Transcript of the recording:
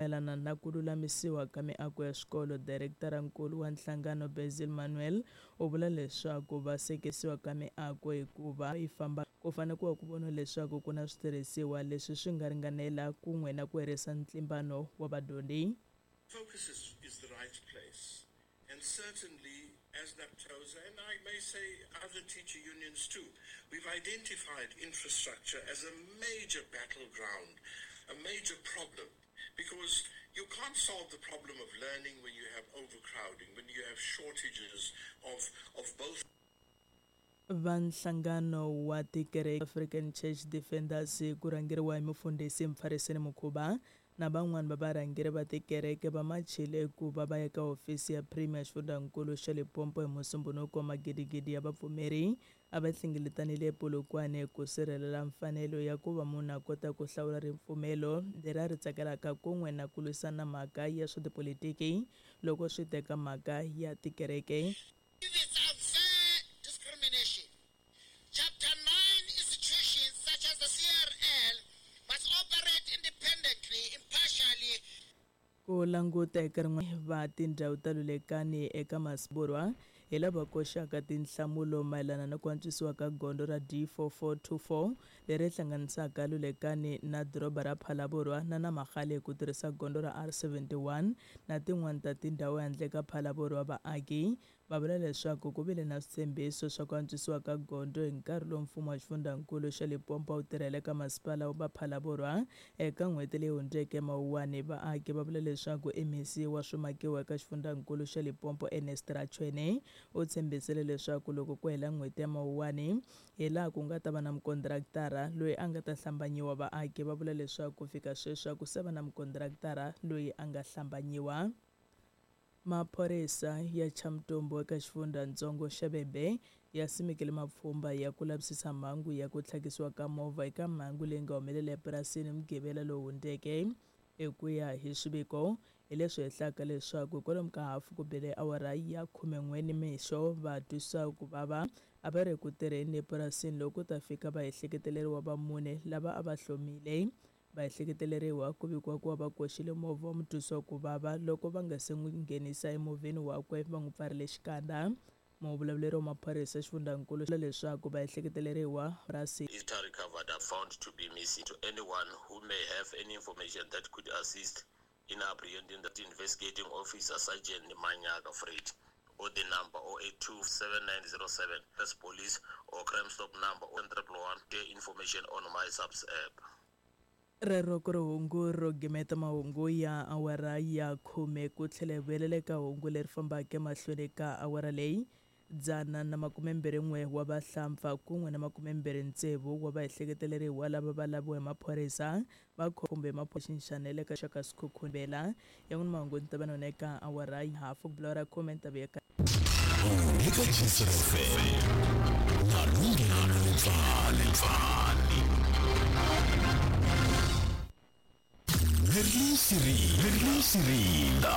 Mayelana na ku lulamisiwa ka miako ya swikolo, Direkitara-nkulu wa nhlangano Basil Manuel u vula leswaku va sekisiwa ka miako hikuva yi famba ku fanele ku va ku voniwa leswaku ku na switirhisiwa leswi swi nga ringanela kun'we na ku herisa ntlimbano wa vadyondzi. Focus is the right place, and certainly as NAPTOSA, and I may say other teacher unions too, we've identified infrastructure as a major battleground, a major problem, because you can't solve the problem of learning when you have overcrowding, when you have shortages of both. Va nhlangano wa tikereke African Church Defenders ku rhangeriwa hi mufundhisi Mfariseni Mukhuba na van'wani va varhangeri va tikereke va machile ku va va ya ka hofisi ya Premier xifundzankulu xa Limpopo hi Musumbhunuko. Magidigidi ya vapfumeri a va hlengeletanile ePolokwane ku sirhelela mfanelo ya ku va munhu a kota ku hlawula ripfumelo leri a ri tsakelaka kun'we na ku lwisana mhaka ya swa tipolitiki loko swi teka mhaka ya tikereke. It's unfair discrimination. Chapter 9 institutions such as the CRL must operate independently, impartially. Ku languta eka rin'wana va tindhawu ta Lulekani eka Masiborwa hi lava koxaka tinhlamulo mayelana na ku antswisiwa ka gondzo ra D4424 leri hlanganisaka Lulekani na doroba ra Phalaborwa na Namagale ku tirhisa gondzo ra R71 na tin'wana ta tindhawu handle ka Phalaborwa. Vaaki va vula leswaku ku vile na switshembiso swa ku antswisiwa ka gondzo hi nkarhi lowu mfumo wa xifundzankulu xa Limpopo wu tirhela eka masipala wa Phalaborwa eka n'hweti leyi hundzeke Mawuwani. Vaaki va vula leswaku MEC wa swimakiwa eka xifundzankulu xa Limpopo Ernest Rachoene u tshembisile leswaku loko ku hela n'hweti ya Mawuwani hi laha ku nga ta va na mukontraktara loyi a nga ta hlambanyiwa. Vaaki va vula leswaku ku fika sweswi a ku se va na mukontraktara loyi a nga hlambanyiwa. Maphorisa ya Chamtombo eka xifundzatsongo xa Vhembe ya simekile mapfhumba ya ku lavisisa mhangu ya ku tlhakisiwa ka movha eka mhangu leyi nga humelela epurasini Mugqivela lowu hundzeke. Hi ku ya hi swiviko, hi leswi hehlaka leswaku kwalomu ka hafu ku bile awara ya 11 nimixo va twisa ku vava a va ri ku tirheni epurasini loko ku ta fika vaehleketeleriwa va mune lava a va hlomile. Vaehleketeleriwa ku vikiwa ku va va koxile movha wa mutwisiwa ku vava loko va nga se n'wi nghenisa emovheni wakwe va n'wi pfarile xikandza. Muvulavuleri wa maphorisa xifundzankulu leswaku vaehleketeleriwa purasi Easter recovered are found to be missing. To anyone who may have any information that could assist in apprehending the investigating officer, Sergeant Manyaka Fred, or the number 0827907, that's police or crime stop number 1111, get information on my subs app. Rero ku ri hungu ro gimeta mahungu ya awara ya 10 ku tlhela hi vuyelela eka hungu leri fambaka emahlweni ka awara leyi. 121 wa vahlampfa kun'we na 26 wa vaehleketeleriwa lava va laviwa hi maphorisa va kumbe maphoxinxanele ka xaka Sekhukhune ya n'wina mahungu ni ta va nona eka awara ya hafu ku bula ra khume ni ta vuya ka eka FM na Lungelo Lepfani. Merlin Sirinda.